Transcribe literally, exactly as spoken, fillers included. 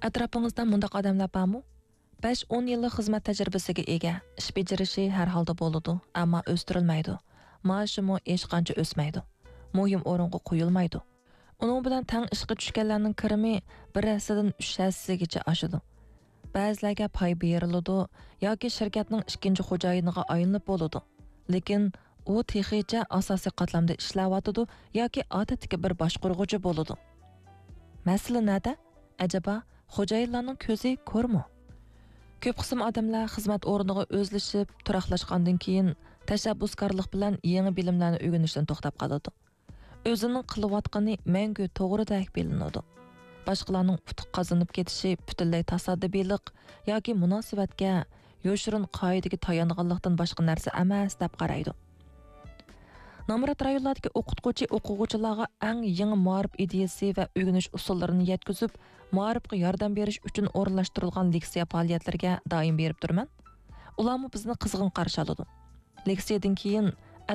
ئەتراپىڭىزدا مۇنداق ئادەملەر بارمۇ؟ بەش-ئون يىللىق خىزمەت تەجرىبىسىگە ئىگە، ئىش بېجىرىشى ھەر ھالدا بولىدۇ، ئەمما ئۆستۈرۈلمەيدۇ. مائاشىمۇ ھېچقانچە ئۆسمەيدۇ. مۇھىم ئورۇنغا قويۇلمايدۇ. ئۇنىڭ بىلەن تەڭ ئىشقا چۈشكەنلەرنىڭ كىرىمى بىر ھەسسىدىن ئۈچ ھەسسىگىچە ئاشىدۇ. بەزىلەرگە پاي بېرىلىدۇ ياكى شىركەتنىڭ ئىككىنچى خوجايىنىغا ئايلىنىپ بولىدۇ. لېكىن ئۇ تېخىچە ئاساسىي قاتلامدا ئىشلەۋاتىدۇ ياكى ئادەتتىكى بىر باشقۇرغۇچى بولىدۇ. مەسىلە نەدە؟ ئەجەبا، خوجايىنلارنىڭ كۆزى كورمۇ؟ كۆپ قىسىم ئادەملەر خىزمەت ئورنىغا ئۆزلىشىپ، تۇراقلاشقاندىن كېيىن، تەشەببۇسكارلىق بىلەن يېڭى بىلىملەرنى ئۆگىنىشتىن توختاپ قالىدۇ. ئۆزىنىڭ قىلىۋاتقىنى مەڭگۈ توغرىدەك بىلىنىدۇ. باشقىلارنىڭ ئۇتۇق قازىنىپ كېتىشى پۈتۈنلەي تاسادىپىيلىق ياكى مۇناسىۋەتكە يوشۇرۇن قائىدىگە تايانغانلىقتىن باشقا نەرسە ئەمەس، دەپ قارايدۇ. نامرات رايونلاردىكى ئوقۇتقۇچى ئوقۇغۇچىلارغا ئەڭ يېڭى مائارىپ ئىدىيىسى ۋە ئۆگىنىش ئۇسۇللىرىنى يەتكۈزۈپ، مائارىپقا ياردەم بېرىش ئۈچۈن ئورۇنلاشتۇرۇلغان لېكسىيە پائالىيەتلىرىگە دائىم بېرىپ تۇرىمەن. ئۇلارمۇ بىزنى قىزغىن قارشى ئالىدۇ. لېكسىيەدىن كېيىن